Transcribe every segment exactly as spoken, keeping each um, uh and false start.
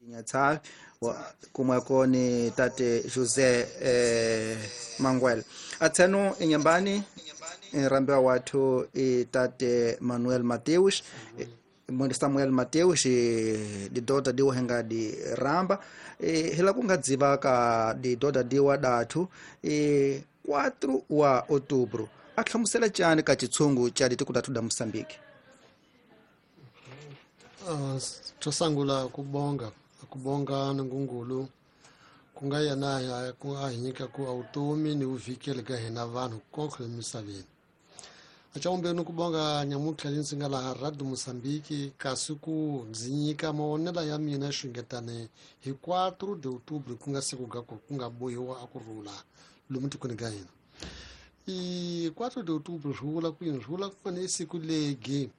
Nyatshavi kumweko ni tate José eh, Manguel atseno inyambani rambiwa wathu i tate Manuel Mateus mwende Samuel Mateus didoda diwa henga di ramba e, hila kunga dziva ka didoda diwa dathu e, quatro wa outubro ahlamusela tjani ka chitshungu cha ditiko dathu da Moçambique. Uh, tosangula kubonga kubonga ngungulu kunga yena ya ku a hinyika ku automi ni uvikele ka hina vanhu konke emisaveni. Achaombeni kubonga nyamutlha ndzi nga laha Radio Moçambique kasi ku ndzi nyika mavonelo ya mina xingetane hi quatro de outubro ku nga siku ga ku ku nga bohiwa a ku rhula lomu tikweni ka hina. I quatro de outubro swi vula ku yini? Swi vula ku fane i siku legi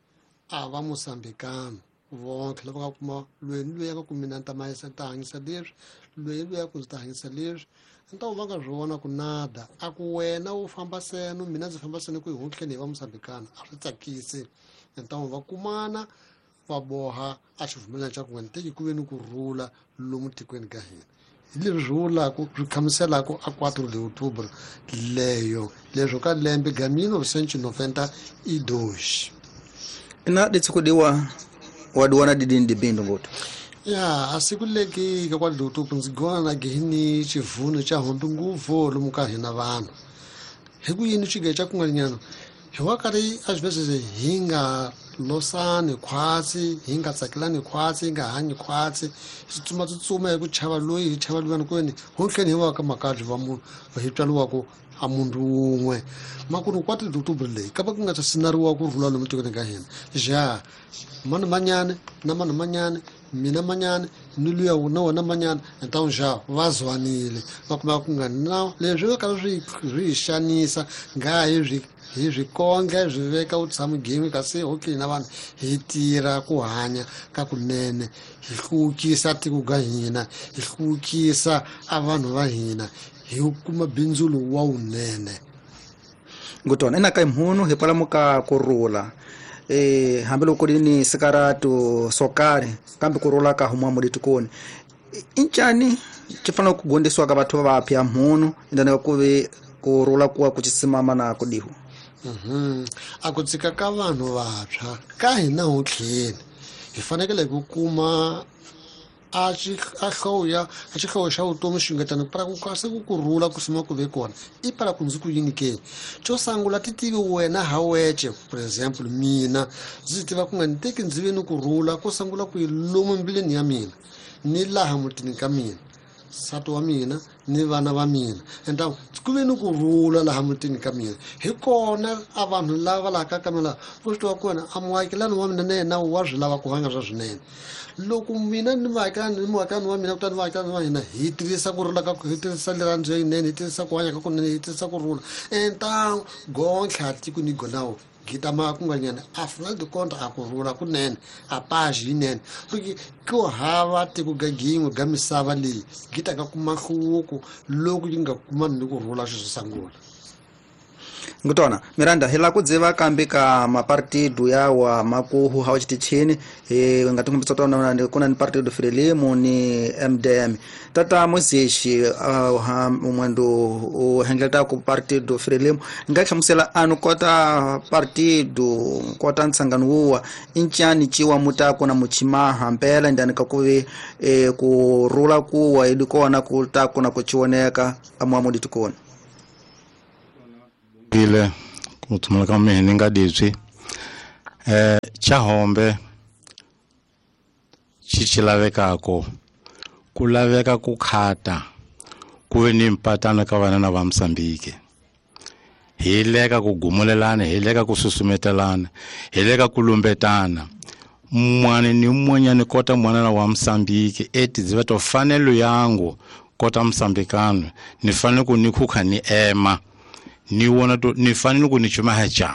a va Moçambicano vonke lava nga kuma loyi ni loyi a nga ku mina ni ta mahisa ni ta hanyisa leswi loyi ni loyi a ku ndzi ta hanyisa leswi ni ta va nga swi vona ku nada a ku wena u famba seno mina ndzi famba seno ku hi huntleni hi va Moçambicano a swi tsakisi ni ta va kumana va boha a xivumelano xa ku nga ni teki ku ve ni ku rhula lomu tikweni ka hina. Hi leswi swi vulaka swi hlamuselaka a quatro de outubro leyo leswo ka lembe ga mil novecentos e noventa e dois. Ina ditsikudiwa wadiwana didini dibindo ngoto ya a siku leki ka quatro de outubro ndzi gona na gini xivuno xa hombe nguvu lomu ka hina vanhu hi ku yini xige xa kun'wanyana hi wa karhi a swi hi nga losani khwatsi hi nga tsakelani khwatsi hi nga hanyi khwatsi hi tsutsuma tsutsuma hi ku chava loyi hi chava luyani kwini hontlheni hi wa ka makabyi va munhu hi tswariwaka a munhu wun'we makunu quatro de outubro leyi ka va ku nga ta sinariwa ku rhula lomu tikweni ka hina ja mani manyane na mani manyane mina manyane ni luya na wona manyane então já va zwanile va kuma ku nga na leswi va karhi swi swi hi xanisa nga hi swi hi swi konge swi veka u tshama gimi kasi okay na vanhu hi tirha ku hanya ka kunene hi hluvukisa tiko ka hina hi hluvukisa a vanhu va hina hi kuma bindzu lowu wa wunene. Ngutona ina ka mhunu hi kwalamu ka kurhula eh hambiloko ku ri ni sikaratu swo karhi kambe kurhula ka huma mulitikoni incani xi fanele ku gondisiwa ka batho va vapya mhunu indana ku vi kurhula kuwa ku chisimama na ku dihu. Mhm a ku tsika ka vanhu vantshwa ka hina hontlheni hi fanekele ku kuma a xi a hloya a xi hloya xa vutomi xingetana para ku kasi ku kurhula ku sima ku ve kona i para ku ndzi ku yini ke xo sungula ti tivi wena ha weche for example mina ndzi tiva ku nga ni teki ndzi ve ni kurhula ko sungula ku yi lomu mbilwini ya mina ni laha mutini ka mina nsati wa mina ni vana va mina enta ku ve ni kurhula laha mutini ka mina hi kona a vanhu lava laha ka ka mina vo swi tiva kona a muakelani wa mina na yena wa swi lava ku hanya swa swinene loko mina ni muakelani ni muakelani wa mina kutani muakelani wa hina hi tirhisa ku rhula ka hi tirhisa rirhandzu yinene hi tirhisa ku hanya ka kunene hi tirhisa ku rhula enta gontlha tiko ni gonawo gitama kun'wanyana afinal de conta a ku rhula kunene a page yinene porque ku hava tiko ga gin'we ga misava leyi gita ka kuma nhluvuko loko yi nga kumani ni ku rhula xo sungula. Ngutona Miranda hi la ku dziva kambe ka mapartido yawa makuhu hawa xitichini hi nga tingumbisa tona ku na ni partido Frelimo ni M D M tata Mozexi umwendo u hengleta ku partido Frelimo nga hlamusela anu kota partido kota ntsangano wuwa incani ciwa mutako na muchimaha mpela ndani ka kuvi e, ku rula kuwa idi kona ku ta kuna ku chioneka amwamu ditukona ile ku thumela ka mina nga ditswi eh chahombe xi xi lavekako ku laveka ku khata ku ve ni mpatana ka vana na va Mozambique hi leka ku gumulelana hi leka ku susumetelana hi leka ku lumbetana mwana ni mun'wanyana kota mwana wa Mozambique eti dziva to fanelo yangu kota Mozambicano ni fanele ku ni khukha ni ema ni wona to ni fanele ku ni chumaha cha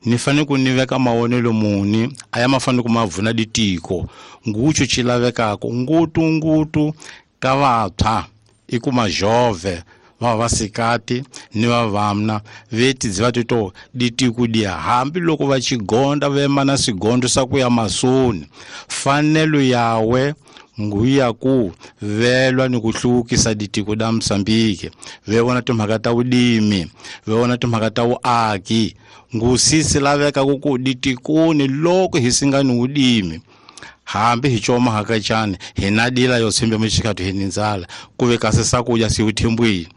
ni fanele ku ni veka mavonelo muni aya ma fanele ku ma vuna ditiko nguchu xi lavekaka ngutu ngutu ka vantshwa i ku majove va vasikati ni vavamna veti dziva tito ditiko dia hambiloko va xigonda va ema na swigondo swa ku ya masoni fanelo yawe nguya ku velwa ni ku hluvukisa ditiko da Mozambique ve vona timhaka ta vulimi ve vona timhaka ta vuaki ngusisi laveka ku ku ditikoni loko hi singani vulimi hambi hi choma hakachani hi na dila yo tshembe mixikatu hi nindzala ku ve kasi swakudya si vuthembwini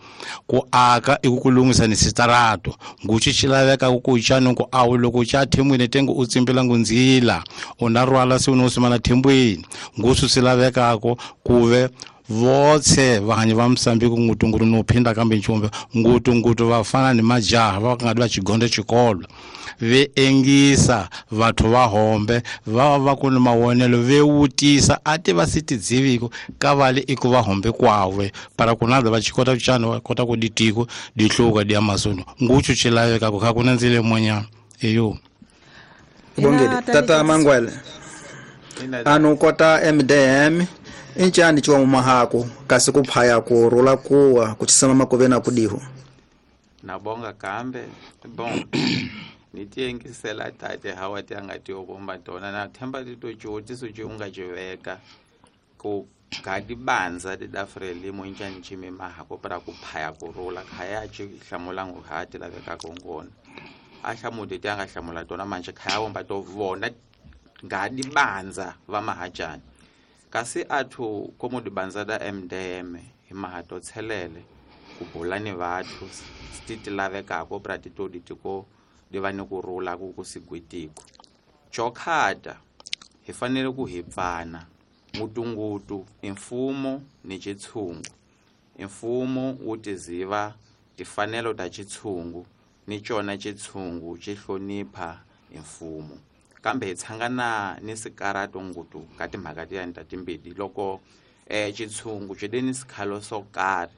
ku aka i ku ku lunghisa ni sitarato nguchi xi laveka ku ku chani ku awu loko cha thembwini tengo u tsimbela ngundzila u na rhwala se u no simana thembwini ngusu swi lavekako ku ve votse vahanyi va Mozambique ngutunguru no phinda kambe nchumbe ngutungutu va fana ni majaha va nga va chigonde xikolo ve engisa vathu va hombe va va ku ni mavonelo ve wutisa a ti va si tidziviko ka vale i ku va hombe kwawe para ku na va xikota ku chana va kota ku ditiko di hluka di ya masono nguchu xi laveka ku kha ku na ndzile monyana eyo bongele tata Mangwele anu kota M D M inchani chiwa mahako kasi kuphaya ku rula kuwa kuchisama makove na kudiho nabonga kambe bon nitiengisela tate hawa ti anga ti obomba tona na themba ti to tshiotiso tshi unga tshiveka ku gadi banza ti da Frelimo inchani chimi mahako para kuphaya ku rula khaya tshi hlamula ngu hati laveka kongona a hlamuti ti anga hlamula tona manje khaya bomba to vona gadi banza va mahajani kasi athu komo dibanza da M D M hi mahato tshelele ku bula ni vathu ti lavekako pra ti to ditiko di va ni ku rula ku ku sigwitiko chokhata hi fanele ku hi pfana ngutungutu imfumo ni chitshungu imfumo wu tiziva tifanelo ta chitshungu ni chona chitshungu xi hlonipha imfumo kambe hi tshangana ni sikarato ngutu ka timhaka tiyani ta timbili loko eh chitshungu xi ni sikhalo swo karhi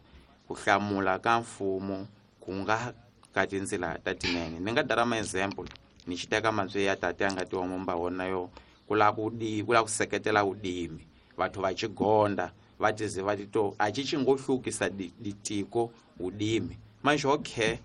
ku hlamula ka mfumo ku nga ka tindzila ta tinene ni nga dara ma example ni xi teka mantswe ya tate a nga tiwa mumba wona yo ku lava ku di ku lava ku seketela vudimi vathu va chigonda va tiziva tito a xi xi ngo hlukisa ditiko vudimi manje okay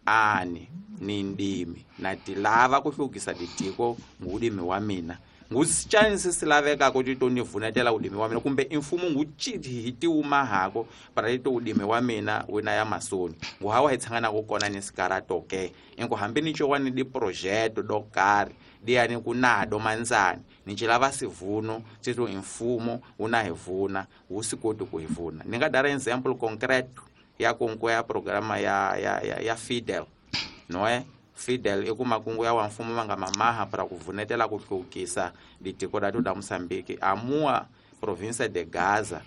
ani ni ndimi na tilava ku hlukisa ditiko ngudimi wa mina ngusitshani sisilaveka ku tito ni vunetela udimi wa mina kumbe imfumo nguchithi hi tiwumahako para tito udimi wa mina wena ya masoni nguhawa hi tshangana ku kona ni sikarato ke inko hambi ni chowani di projeto do karhi diyani ku nado manzani ni chilava sivuno tito imfumo una hi vuna wu si koti ku hi vuna ni nga dara example concreto ya kungu ya programa ya ya ya, ya Fidel noe Fidel i ku makungu ya wa mfumo va nga mamaha para ku vunetela ku hlukisa ditiko da da Mozambique amua province de Gaza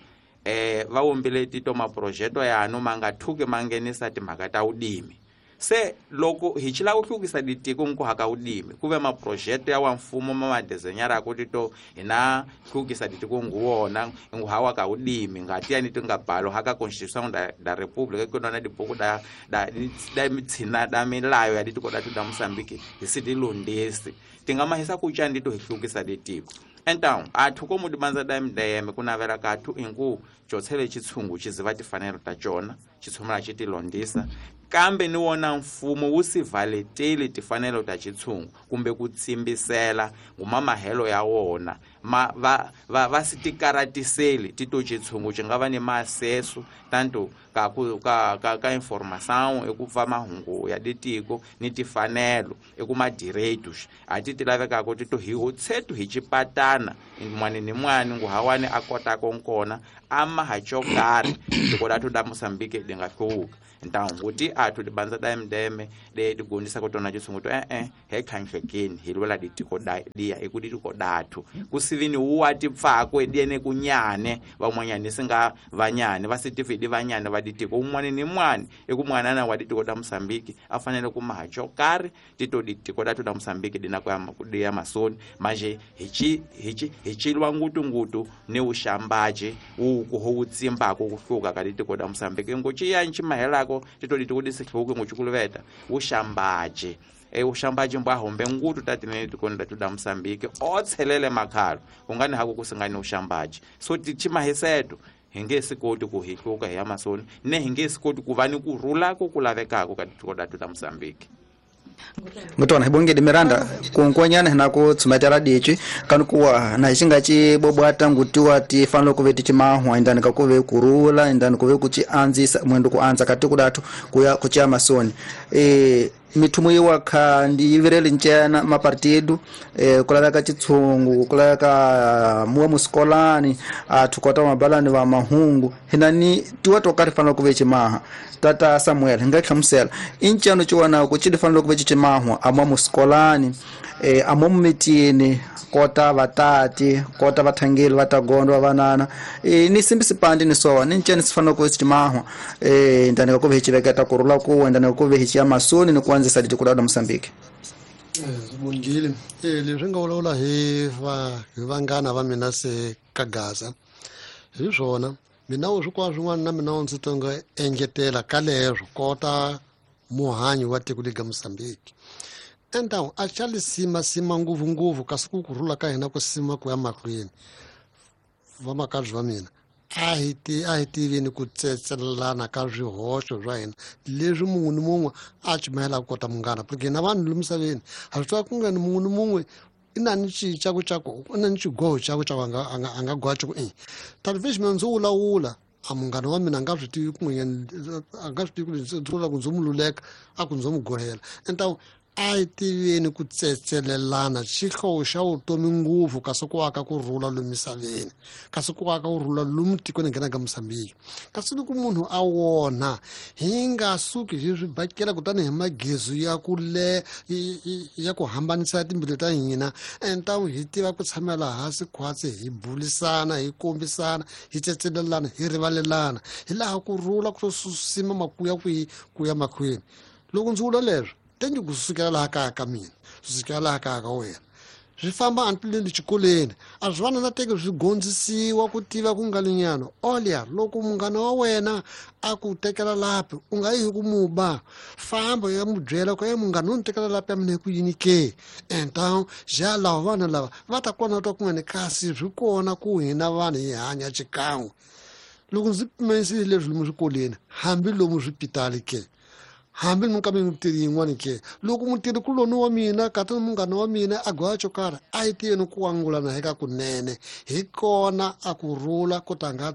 eh va wombile tito maprojeto ya no manga thuke mangenisa timhaka ta udimi se loko hi chila ku hlukisa ditiko nku haka udimi kuve maprojeto ya wa mfumo ma madesenyara ku tito hina hlukisa ditiko nguwona ngu hawa ka udimi ngati ya ni tinga balo haka constitution da da republic ku nona dibuku da da da mitsina da milayo ya ditiko da da Mozambique hi si dilondesi tinga mahisa ku chani to hi hlukisa ditiko então athu komu dibanza da M D M ku navela ka athu ingu chotshele chitshungu chiziva tifanelo ta chona chitshomela chitilondisa kambe ni wona mfumo wu si valeteli tifanelo ta chitshungu kumbe ku tsimbisela ngumamahelo ya wona ma va va va si tikaratiseli tito chitshungu xi nga va ni maaseso tanto ka ku ka ka ka informação eku pfa mahungu ya ditiko ni tifanelo eku madireitos a ti ti lavekaka tito hi hotshetu hi chipatana mwani ni mwani nguhawani a kotaka nkona ama ha chokarhi tiko la da Mozambique di nga hluka então kuti athu dibanza da M D M de digondisa ku tona chitshungu to eh eh he khanhlekeni hi lwela ditiko da dia eku ditiko dathu kusivini wa tipfako ediene kunyane van'wanyani singa vanyane va sitifidi vanyane va ditiko un'wana ni mwani eku mwanana wa ditiko da Mozambique a fanele ku maha chokarhi tito ditiko da da Mozambique dina ku ya ya masoni manje hi chi hi chi hi chilwa ngutu ngutu ni uxambaje wu ku ho tsimbako ku hluka ka ditiko da Mozambique ngo chi ya nchimahelako tito ditiko disihluke ngochukuluveta uxambaje e uxambaje mbwa hombe ngutu tatinene tikoni da da Mozambique o tshelele makhalo kungani hako kusingani uxambaje so tichimahiseto hi nge si koti ku hi hluka hi ya masoni ne hi nge si koti ku va ni ku rula ku ku lavekaka ka tiko da da Mozambique. Ngutona hibongede Miranda kunkwanyana hina ku tsumetela dichi kanu kuwa na xinga ci bobwata ngutiwa ti fanele ku ve ti cimahwa indani ka ku ve kurula indani ku ve ku ci andzisa mwendo ku andza ka tiko dathu kuya ku cia masoni e mithumu yiwa kha ndi yivireli ncena mapartido e kulaveka chitshungu kulaveka muwa musikolani athu kota mabalani va mahungu hina ni tiwa to karhi fanele ku ve cimaha tata Samuel hi nga hlamusela i nceno ciwana ku ci fanele ku ve cimahwa amwa musikolani e amo mitini kota vatati kota vathangeli va tagondo va vanana e ni simbi sipandi ni sowa ni nceni swi fanele ku ve cimahwa e ndani ka ku ve hi civeketa kurula kuwa ndani ka ku ve hi ciya masoni ni ku andzisa ditiko la Mozambique. Bongile eh leswi nga vulavula hi va hi vanghana va mina se ka Gaza hi swona mina u swi kwa swin'wana na mina ndzi tonga engetela ka leswo kota muhanyi wa tiko lega Mozambique enta a xa lisima sima ngopfu ngopfu kasi ku kurhula ka hina ku sima ku ya mahlweni vamakabyi va mina a hi ti a hi tivini ku tsetselelana ka swihoxo swa hina leswi mun'we ni mun'we a cumayelaka kota munghana porque hina vanhu lomu misaveni ha swi tiva ku nga ni mun'we ni mun'we i na ni xicaku xaku i na ni xigoho xaku xaku a nga a nga a nga goha xaku i tani mina ndzi wulawula a munghana wa mina a nga swi tivi kun'wanyana a nga swi tivi ku ndzi vula ku ndzi mu luleka a ku ndzi mu gohela enta a hi tiveni ku tsetselelana xihlovo xa vutomi ngopfu kasi ku aka ku rhula lomu misaveni kasi ku aka ku rhula lomu tikweni nghena ka Mozambique kasi loko munhu a wona hi nga suki hi swi bakela kutani hi magezu ya ku le ya ku hambanisa timbilu ta hina enta hi tiva ku tshamela hansi khwatsi hi bulisana hi kombisana hi tsetselelana hi rivalelana hi laha ku rhula ku sima makuya kwihi ku ya mahlweni loko ndzi vula leswo tengi ku sukela laha kaya ka mina swi sukela laha kaya ka wena swi famba antileni xikolweni a swi vana na teke swi gondzisiwa ku tiva ku nga linyana olya loko munghana wa wena a ku tekela lapi u nga yi hi ku muba famba ya mu byela ku e munghana u ni tekela lapi ya mina hi ku yini ke enta ja lava vana lava va ta kona twa kun'wana kasi swi kona ku hina vanhu hi hanya xikan'we loko ndzi pimenisile leswi lomu swikolweni hambi lomu swipitali ke hambi ni ka mutirhi yin'wana ke loko mutirhi kuloni wa mina kata munghana wa mina a goya xo karhi a yi tiveni ku angulana hi ka kunene hi kona a ku rhula ku ta nga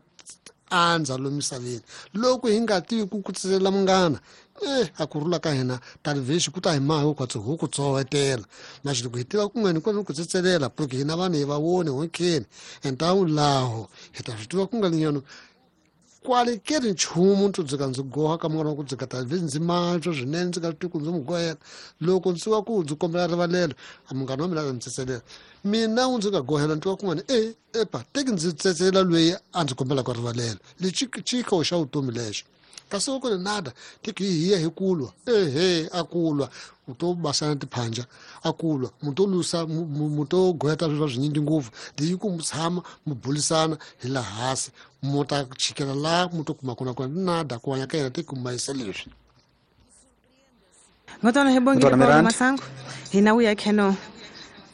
andza lomu misaveni loko hi nga tivi ku kutselela munghana eh a ku rhula ka hina talivhexi ku ta hi mahi khwatsi hu ku tsowetela maxi loko hi tiva kun'wana kona ku tsetselela porque hina vanhu hi va voni honkeni entawu laho hi ta swi tiva ku nga linyano kwale ke ri nchumu ndzi dzika ndzi goha ka munghana wa ku dzika ta ndzi mantswa swinene ndzi nga tivi ku ndzi mu gohela loko ndzi wa ku ndzi kombela rivalelo a munghana wa mina a ndzi tsetselela mina u ndzi nga gohela ni twa kun'wana e epa teki ndzi tsetselela loyi a ndzi kombelaka rivalelo lexi xikho xa vutomi lexo kasi loko ni nada teki hi ya hi kulwa ehe a kulwa u to basana tiphanja a kulwa mu to lusa mu to goheta swilo swinyingi ngopfu leyi ku mu tshama mu bulisana hi laha hansi mu ta chikela laha mu to kuma kona kona nada ku hanya ka yena teki mayisa leswi ngotona hi bongile Paulo Masango hina uya kheno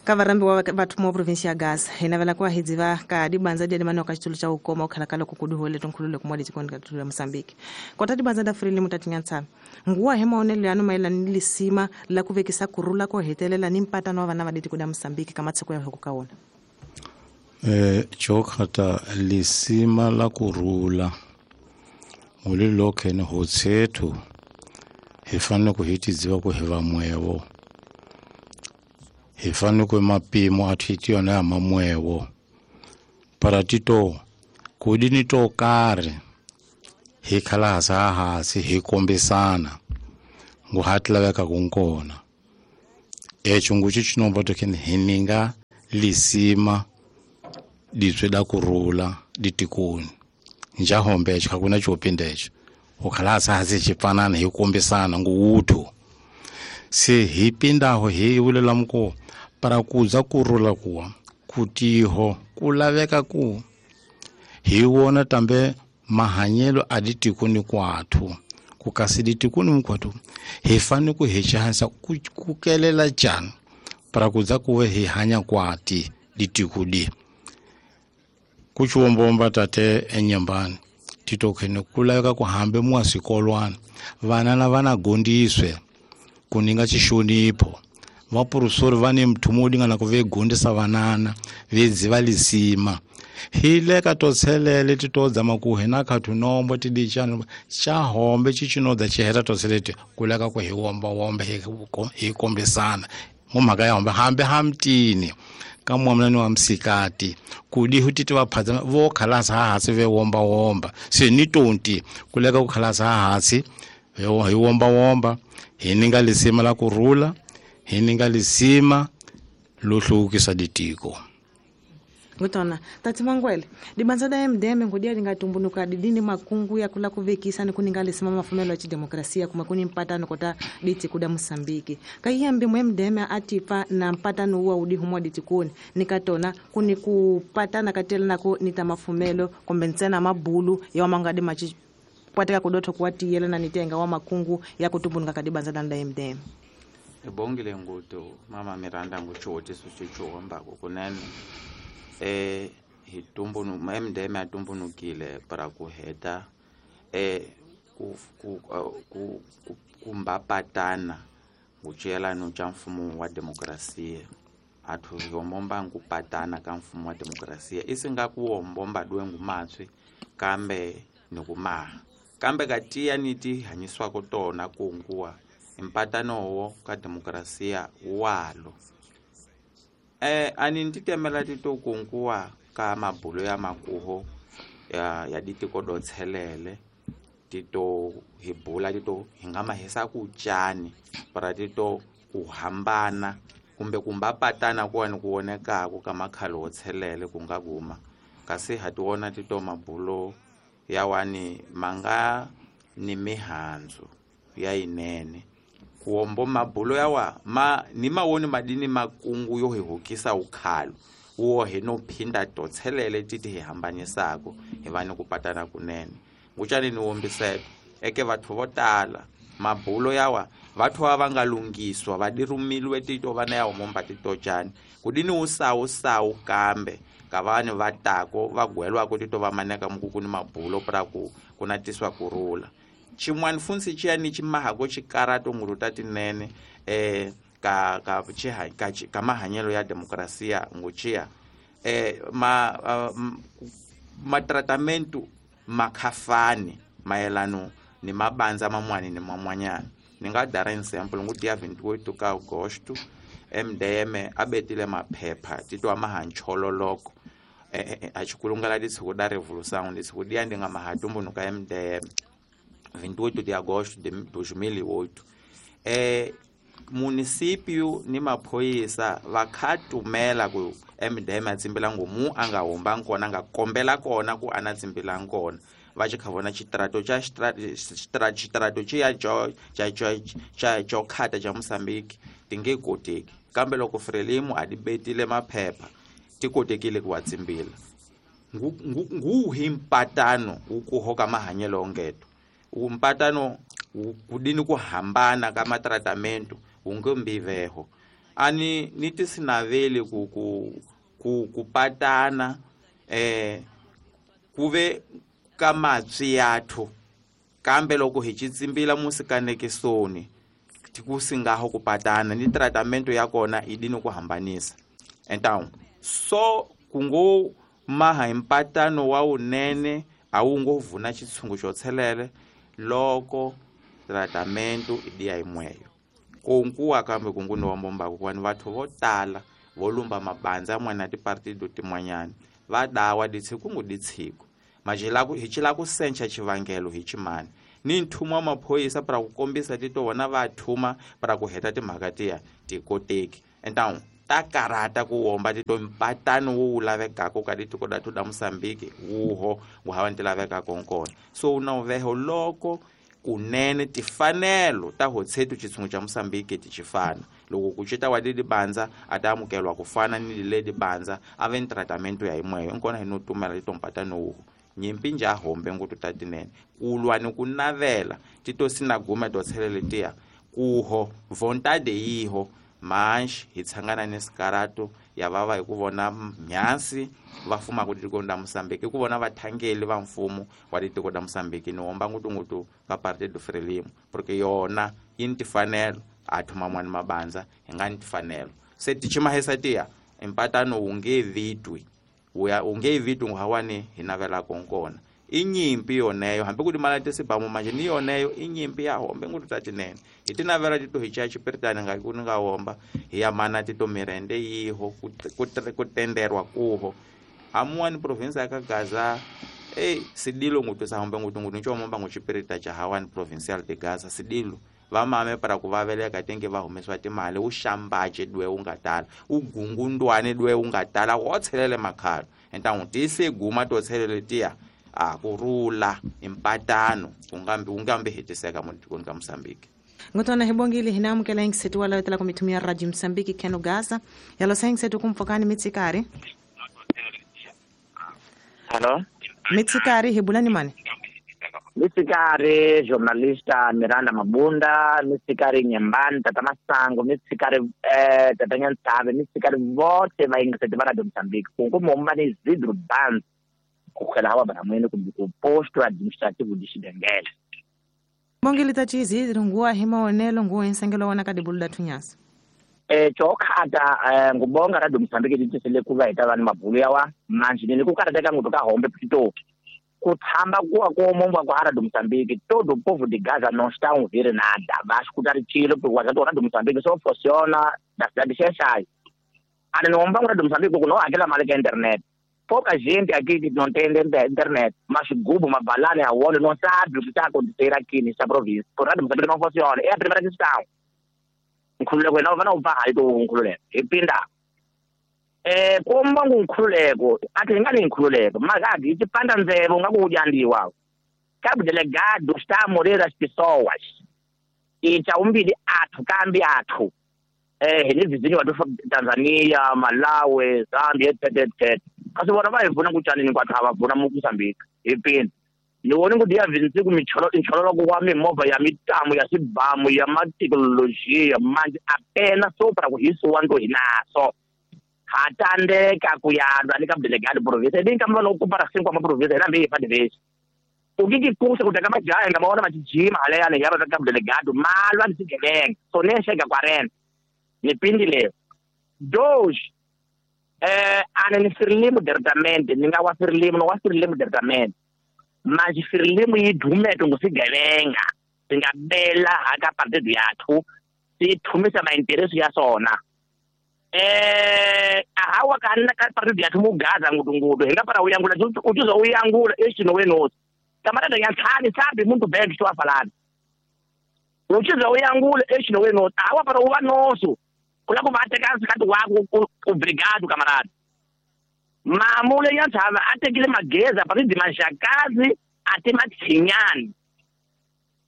ka varambi wa batho mo province ya Gaza hina vela kwa hidziva ka dibanza dia mano ka xitulu xa ukoma ukhala ka loko kuduhole tonkhulule ku mwali tikoni ka tulu ya Mozambique kota dibanza da Frelimo mutatinyantsana nguwa he maonelo yanu mayelana ni lisima la ku vekisa kurula ko hetelela ni mpatano wa vana va ditiko da Mozambique ka matsheko ya hoko ka wona eh chokhata lisima la kurula ngulilo khene hotsethu hi fanele ku hi tidziva ku hi va mwevo hi fanele ku mapimo a thiti yona ya mamwevo para tito kudini to karhi hi khala hasa hasi hi kombisana ngu hatlaveka kunkona echo nguchi chinomba tokene hininga lisima ditswe da kurula ditikoni njahombe echo hakuna chopinda echo ukhala hasa hasi chipanana hi kombisana ngu uthu se hi pindaho hi vulela mko para kuza kurula kuwa kutiho kulaveka ku hi wona tambe mahanyelo a ditikoni kwathu ku kasi ditikoni mkwathu hi fanele ku hi chansa ku kelela jani para kuza kuwe hi hanya kwati ditikudi kuchiwombomba tate enyambani titokhene kulaveka ku hambe mwasikolwana vana na vana gondiswe ku ninga xixonipho vaprofesori va ni mthumo wo lingana ku ve gundisa vanana ve dziva lisima hi le ka to tshelele ti to dzama ku hina khathu nombo ti dichana xa hombe xi xi heta to tshelete ku leka ku hi womba wombe hi hi kombisana mo mhaka ya hombe hambe hamtini ka mwamna wa msikati ku di huti ti va phadza vo khalasa ha hansi ve womba womba se ni tonti ku leka ku khalasa ha hansi hi womba womba hi ninga lisima la kurhula hi ninga lisima lo hluvukisa ditiko. Ngutona tati Mangwele dibanza da M D M ngudia lingatumbunuka didini makungu ya kula kuvekisa ni kuninga lisima mafumelo ya chidemokrasia kuma kuni mpatano kota diti kuda Mosambiki kaiyambi mu M D M atipa na mpatano huwa udi humwa ditikuni nikatona kuni kupatana katela nako nita mafumelo kombensena mabulu ya mangadi machi kwateka kudoto kuwati yela na nitenga wa makungu ya kutumbunuka kadibanza da M D M. Ebongile nguto mama Miranda nguchoti suchichomba kunene eh hitumbunu M D M atumbunukile para kuheta eh ku ku ku kumbapatana nguchela no cha mfumo wa demokrasia athu yombomba ngupatana ka mfumo wa demokrasia isinga kuombomba dwe ngumatswi kambe nikumaha kambe katiya niti hanyiswa kotona kunguwa impatano wo ka demokrasia walo. Eh ani nditemela tito kunguwa ka mabulo ya makuho ya ya ditiko do tshelele tito hibula tito hingama hesa kuchani para tito kuhambana kumbe kumbapatana kuwani kuonekako ka makhalo wo tshelele kungakuma kasi hatiwona tito mabulo ya wani manga ni mihanzu ya inene kuombo mabulo yawa ma ni mawoni madini makungu yo hihukisa ukhalo wo he no phinda to tshelele titi hihambanyisako hi vani kupatana kunene nguchani ni wombiseta eke vathu vo tala mabulo yawa vathu va nga lungiswa va dirumilwe tito vana ya homomba tito chani kudini usawu sawu kambe ka vanhu va tako va gwelwako tito va maneka mukuku ni mabulo pra ku kuna tiswa kurula chimwani funsi chiyani chimahako chikarato nguruta tinene eh ka ka chiha ka, ka mahanyelo ya demokrasia nguchia eh ma uh, ma tratamento makhafani maelano ni mabanza mamwani ni mamwanyana ninga dara example nguti ya vinte e oito ka agosto M D M abetile maphepha titwa mahanchololoko eh, eh achikulungala ditsiko da revolução ditsiko dia ndinga mahatumbunuka M D M vinte e oito de agosto de dois mil e oito eh município ni maphoyisa va khatumela ku M D M a tsimbela ngomu a nga humba nkona nga kombela kona ku ana tsimbela nkona va xi kha vona xitrato xa xitrato xiya xa xa xo khata xa Mozambique ti nge koteki kambe loko Frelimo a di betile maphepha ti kotekile ku wa tsimbila nguhi mpatano wu ku hoka mahanyelo ongeto umpatano kudini ku hambana ka matratamento wu nge mbiveho ani ni tisinaveli ku ku ku kupatana eh kuve ka matswi yathu kambe loko hi xitsimbila musikanekisoni tikusingaho kupatana ni tratamento ya kona idini ku hambanisa então so kungo maha impatano wa unene a wu ngo vuna xitshungu xo tshelele loko tratamento idiya imweyo konkuwa kambe kunguni wa mbombaku kwani vathu vo tala vo lumba mabandza mwana tipartido tin'wanyana va dawa ditshiku ngu ditshiku majela ku hi chila ku sencha xivangelo hi chimani ni nthuma wa maphoyisa para ku kombisa tito vona va thuma para ku heta timhaka tiya tikoteki então ta karata ku womba tito mpatano wu lavekaka ka ditiko da da Mozambique wuho wu hava ti lavekaka nkona so na uveho loko kunene tifanelo ta hotshetu xitshungu xa Mozambique ti xifana loko ku cita wa leli bandza a ta amukelwa ku fana ni leli bandza a ve ni tratamento ya yimweyo nkona hi no tumela tito mpatano wuho nyimpi nja hombe ngutu ta tinene ku lwa ni ku navela tito sinagume to tshelele tiya kuho vontade yiho manxi hi tshangana ni sikarato ya vava hi ku vona mhansi va fumaka tiko ra Mozambique ku vona vathangeli va mfumo wa tiko ra Mozambique ni womba ngutungutu ka Partido Frelimo porque yona yi ni tifanelo athu mamwani mabandza hi nga ni tifanelo se tichimahesa tiya empatano wu nge vitwi wuya u nge vitwi nguhawani hi navelaka nkona i nyimpi yoneyo hambi ku timala tisibamu manje ni yoneyo i nyimpi ya hombe ngutu ta tinene hi tinavela tito hi caya chipiritani nga ku ni nga womba hi ya mana tito mirende yiho ku tenderwa kuho amuwani province ya ka Gaza eh sidilo ngutu sa hombe ngutu ngutu ncho momba nguchipirita cha hawani provincial de Gaza sidilo vamame para ku vaveleka tenge va humesiwa timali wu xambace dwe wu nga tala wu gungundwane dwe wu nga tala wo tshelele makhalo entangu tise guma to tshelele tiya a ku rula impatano ungambi ungambi hetiseka mutikoni ka Mozambique. Ngotona hibongile hina amukela ingisetu wala wetela kumitumia Radio Mozambique keno Gaza yalo sengisetu kumfokani mitsikari. Hello mitsikari hibulani mane mitsikari journalista Miranda Mabunda mitsikari Nyembani tata Masango mitsikari eh tata Nyantsave mitsikari vote va ingisetu va Radio Mozambique kungu ni Zidro Banz kukhela hawa bana ku posto administrativo de Xidengele. Bongile tachizi nguwa himaonelo nguwa insengelo wana kadibulu thunyasa. Eh chokhata ngubonga Radio Mozambique litisele kuva hita vanhu mabulu yawa manje ni ku karateka nguto ka hombe pito ku tshamba kuwa ko momba kwa Radio Mozambique todo o povo de Gaza não está a ouvir nada va escutar tiro porque o Radio Mozambique só funciona da cidade de Xexai. Ana não vamos Radio Mozambique não aquela mala que internet. Pouca gente aqui que não tem internet, mas o Google, uma balada, a ONU não sabe o que está a acontecer aqui nessa província. Por nada, Moçambique não funciona. É a primeira questão. Nkhululeko não vai não vai do nkhululeko. Ipinda. É como um nkhululeko, athi ngani nkhululeko, mas aqui te panda nzebo ngakuyandiwa. Cabo delegado está a morrer as pessoas. E chaumbili athu kambi athu. Eh, ni vizinho wa Tanzania, Malawi, Zambia, et cetera et cetera. Kasi vona va hi pfuna ku tyanini kwathu a va pfuna Mozambique hi pini ni voni ku diya vinsiku michololoko wa mimovha ya mitamu ya swibamu ya mathekinolojiya manje apenas só para ku hisiwa nto hi naso ha tandeka ku ya lwa ni ka delegado province ni ka mva ku para cinco ma province na mbi fa divesi o que que custa ku teka majaha nga maona majijima haleyani ya va ka delegado malwa ni swigevenga so ne chega quarenta ni pindi leyo dois eh ana ni Frelimo diretamente ni nga wa Frelimo no wa Frelimo diretamente mas Frelimo yi dumeto ngusigevenga singabela aka partido yathu sithumisa maintereso ya sona eh ahawa kana ka partido yathu mugaza ngutungudu hinga para uyangula utuza uyangula este no wenosi camarada yanthani sabe muito bem que estou a falar utuza uyangula este no wenosi ahawa para uva nosso kula ku va teka sikati wako obrigado camarada mamule yanthava a tekile mageza paridi maxakazi a te matshinyani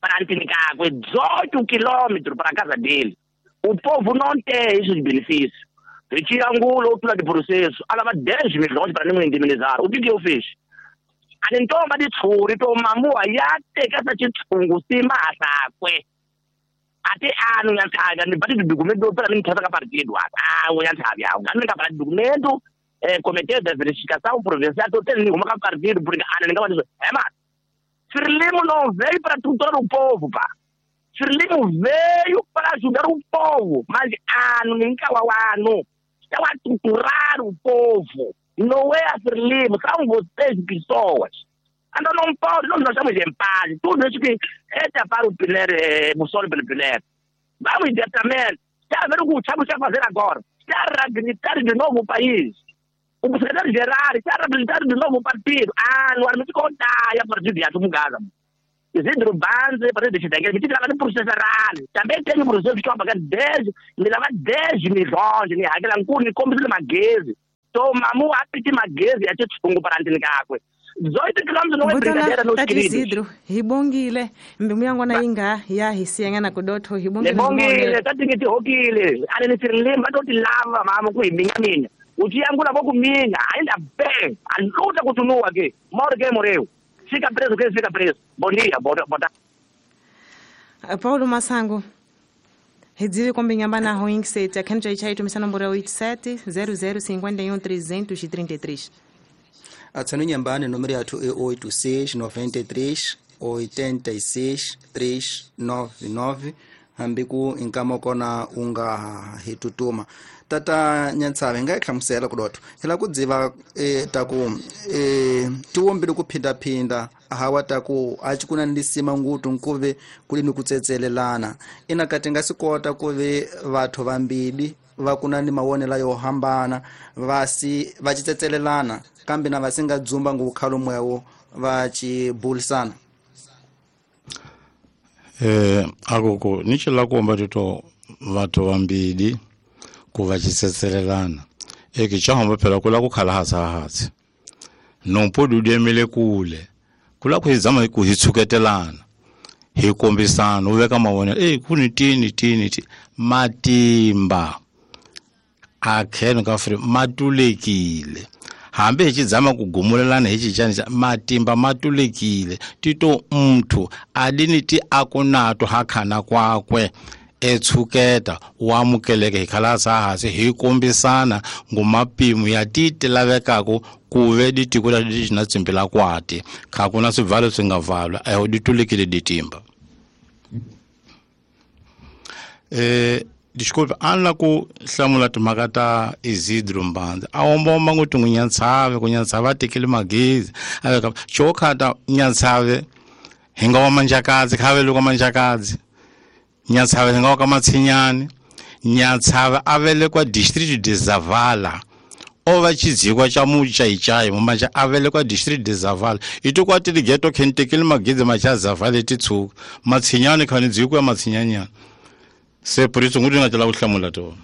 para ntini kakwe dezoito quilômetros para a casa dele. O povo não tem esses benefícios. Retira-angulo ou pula de processo. Ela vai dez milhões para não indemnizar. O que que eu fiz? A ntoma de tsuri to mamua ya teka sa tshungu sima asakwe. Até ano yanthava ni bati documento para mim tata ka partido. Ah, o yanthava ya. Ngani ka para documento eh comitê de verificação provincial to tem nenhuma ka partido porque ana ninga ba é mas Frelimo não veio para tutor o povo, pá. Frelimo veio para ajudar o povo, mas ano ninga wa ano está a tutorar o povo. Não é a Frelimo, são vocês pessoas. Então não pode, nós estamos em paz. Tudo isso que é para o Piler, Mussoli pelo Piler. Vamos diretamente. Está a ver o que estamos a fazer agora. Está a reabilitar de novo o país. O secretário-geral está a reabilitar de novo o partido. Ah, não arme de contar. E a partir de Gaza. Isidro Banze, partido de Xidengele, me tira no processo errado. Também tem um processo que estou a pagar dez, me leva dez milhões, me aquela ncuni, como se magueze. Toma, mu apiti magueze, até tsungu para antinicakwe. dezoito quilômetros não é brincadeira, meus queridos. Isidro, ribongile, mbimuyangwana inga ya hisianga na kudotho ribongile. Ribongile, tatingiti hokile, ale ni Frelimo batoti lava mama ku iminya mina. Uchiyangula bokuminya, ainda bem, a luta continua aqui. Morre quem morreu. Fica preso quem fica preso. Bom dia, boa tarde. Paulo Massango. Redzive kombinyamba na hoing sete, a kenja ichai tumisa nomboro oito sete zero zero cinco um três três três. Atsano nyambani número yathu é oito seis nove três oito seis três nove nove. hambi ku inkama kona u nga hi tutuma. Tata Nyantsave nga hlamusela ku dotho hi la ku dziva e ta ku e tiwombile ku phindaphinda hawa ta ku a ci kuna ndisima ngutu nkuve kuli ni kutsetselelana ina kati nga sikota ku ve vathu vambili va kuna ni mawonela yo hambana vasi va tsetselelana kambe na vasinga dzumba ngukhalo mwewo va ci bulisana. Eh akoko ni ci la komba tito vathu vambili ku va tsetselelana eke cha hamba phela kula ku khala hatsa hatsi nompo dudemele kule kula ku hizama ku hitsuketelana hi kombisana u veka mavonelo eh ku ni tini tini ti matimba a kheno ka fri matulekile hambi hi chidzama ku gumulelana hi chichani cha matimba matulekile tito mthu adini ti akunato hakhana kwakwe etshuketa wa amukeleke hi khala hansi hi kombisana ngumapimo ya titi lavekaka ku ve ditiko la na tsimbila kwati kha ku na swivalo swi nga valwa eho ditulekile ditimba. Eh desculpa an la ku hlamula timhaka ta Isidro Mbanza a omba ngoti ngu Nyantsave ku Nyantsave a tekile magezi a veka chokhata Nyantsave hi nga wa Manjakadzi kha vele kwa Manjakadzi Nyantsave hi nga wa ka Matshinyani Nyantsave a velekwa district de Zavala o va chidzikwa cha muchaichai mumanja a velekwa district de Zavala ito kwa tili ghetto khentekile magezi macha Zavala titshuka Matshinyani khani dzikwa Matshinyanyana se por isso nguti nga tla ku hlamula to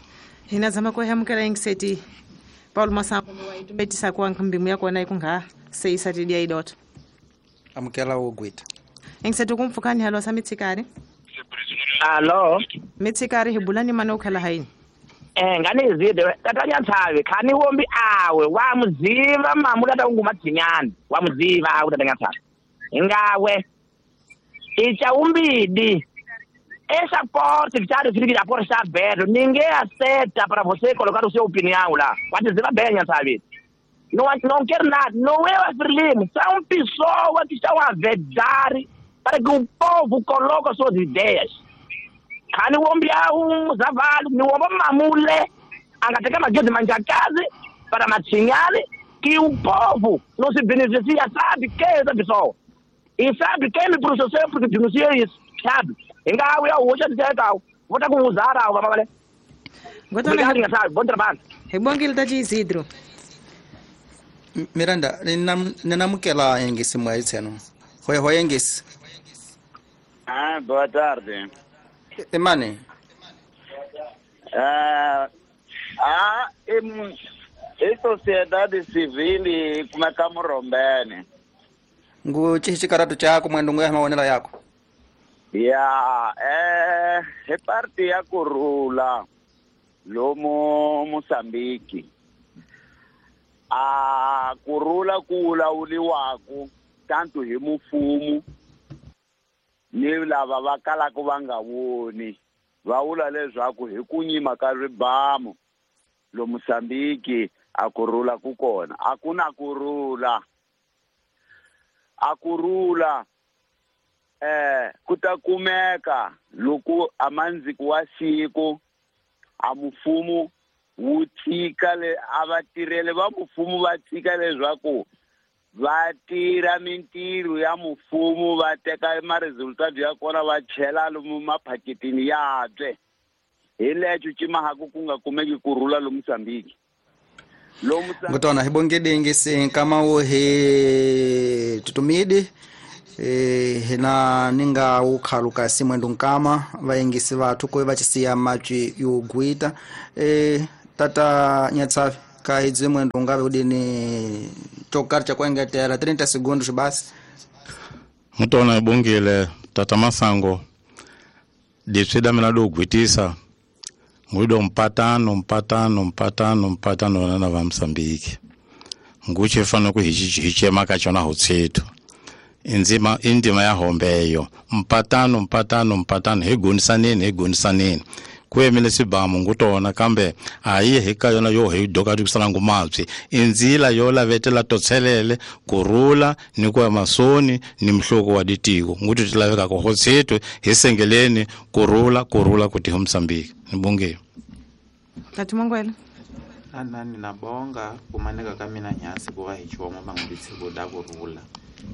hina zama ku hamukela ingiseti Paul Masango wa itumetisa kwa nkambimu ya kona ikunga seisa tidia idot amukela wo gwita ingiseti kumfukani halo sa mitsikari alo mitsikari hibulani mana ukhala haini eh ngani izide tata Nyantsave khani wombi awe wa muziva mamu tata ungu Matshinyani wa muziva awe tata Nyantsave ngawe icha umbidi essa porta que está de a porta está aberta, ninguém aceita para você colocar o seu opinião lá. Pode dizer bem, sabe? Não, não quero nada, não é o Frelimo, são pessoas que estão a vedar para que o povo coloque as suas ideias. Khani wombi um zavalo, ni womba mamule, angateka magezi Manjakazi para Matshinyani, que o povo não se beneficia, sabe quem é essa pessoa? E sabe quem me processou porque denuncia isso, sabe? Ingawe ya hoje ndithetha vota ku uzara wa mabale. Obrigado, sabe? Bom trabalho. Hi tati Isidro. Miranda, ninamukela engisi mwa itseno. Hoi hoi engisi. Ah, boa tarde. Emane. Ah, ah, em e sociedade civil como é que rombene. Ngu chichikaratu chako mwendo ngwe maonela yako. Ya, eh, e parte ya kurula lomo Mozambique. A kurula kulawuliwaku tanto hi mufumu ni lava va kalaka va nga voni va vula leswaku hi ku nyima ka ribamu lo Mozambique a kurula ku kona a ku na kurula a kurula eh ku ta kumeka loko amandziko wa siku a mufumu wu tshika le a vatirheli va mufumu va tshika leswaku va tirha mintirho ya mufumu va teka ma-resultado ya kona va chela lomu maphaketini yabye hi lexo cimahaku ku nga kumeki kurhula lo Mozambique. Ngutona hi bongedingi sinkama wo hi tutumidi eh hina ninga ukhaluka simwendo nkama vayengisi vathu ko va chisiya matwi yo gwita eh tata Nyatsave ka idzi mwendo ngabe udini tokar cha kuengetela thirty segundos basi. Mutona ibongile tata Masango ditswida mina do gwitisa ngwido mpatano mpatano mpatano mpatano na va Mozambique nguche fana ku hichema ka chona hotsetu inzima indima ya hombeyo mpatano mpatano mpatano hegonisaneni hegonisaneni Ku emile sibamu ngutona kambe a yi hi ka yona yo hi doka dikusana ngumapsi inzila yo lavetela totselele kurula ni ku masoni ni mhloko wa ditiko nguti tilaveka ko hotshetwe hi sengeleni kurula kurula kuti ho Mozambique nibonge Tati Mangwele anani nabonga kumaneka ka mina nyasi ku va hi chiwomo mangubitsi da kurula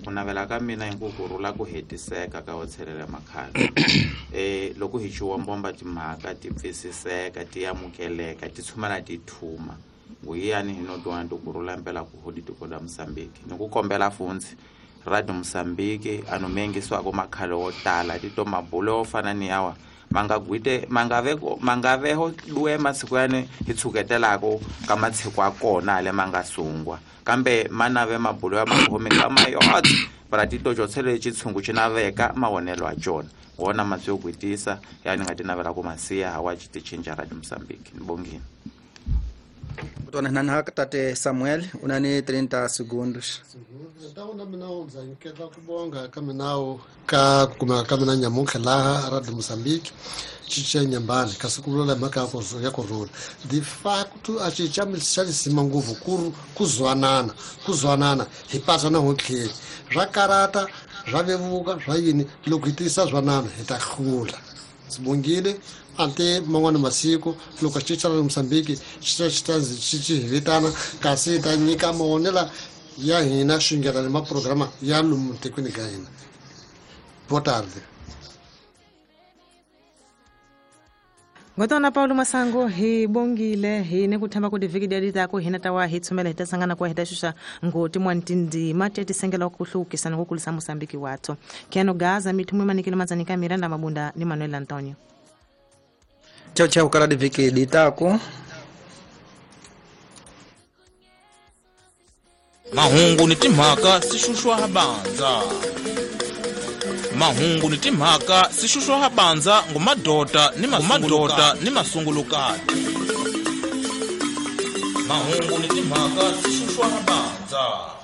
ku navela ka mina hi ku kurula ku hetiseka ka hotshelela makhale eh loko hi chiwombomba timhaka ti pfisiseka ti amukeleka ti tshumana ti thuma nguyani hi no twana to kurula mpela ku hodi tiko la Mozambique ni ku kombela fundzi Radio Mozambique ano mengiswako makhale wo tala ti to mabulo fana ni yawa mangagwite mangaveko mangaveho duwe masiku yane hi tshuketelako ka matshiko a kona le mangasungwa kambe manave mabulo ya makhome ka mayot para tito jotsele chitsungu chinaveka mawonelo a jona wona matsi yo gwitisa yani nga tinavela ku masiya hawa chiti chinja Radio Mozambique nibongile Kutona nana tate Samuel unani trinta segundos Então na mina ndza nketa kubonga ka minawo ka kuma ka mina nyamutlha laha Radio Mozambique chiche nyambani kasi ku vula mhaka ya kurula de facto a chicha mixalisima nguvu ku kuzwanana kuzwanana hi pasa na hotlheli swa karata swa vevuka swa yini loko hi tiyisa zwanana hi ta hlula sibongile ante man'wana masiku loko xichicha ra Mozambique xi xi xi xi hi vitana kasi hi ta nyika mavonelo ya hina xingela ni maprograma ya lomu tikweni ka hina. Boa tarde. Ngotona Paulo Masango hi bongile hi ne ku themba ku divhiki dia ta ku hina ta wa hi tshumela hi ta sangana ku hi ta xuxa ngoti mwantindima te tisengela ku hlukisa ni ku kulisa Mozambique watho Keno Gaza mithumwe manikile matsanika Miranda Mabunda ni Manuel Antonio. Tchau tchau kala divhiki ditako. Mahungu ni timhaka sixuxwa habanza Mahungu ni timhaka sixuxwa habanza ngumadota ni mamadota ni masungulukati Mahungu ni timhaka sixuxwa habanza.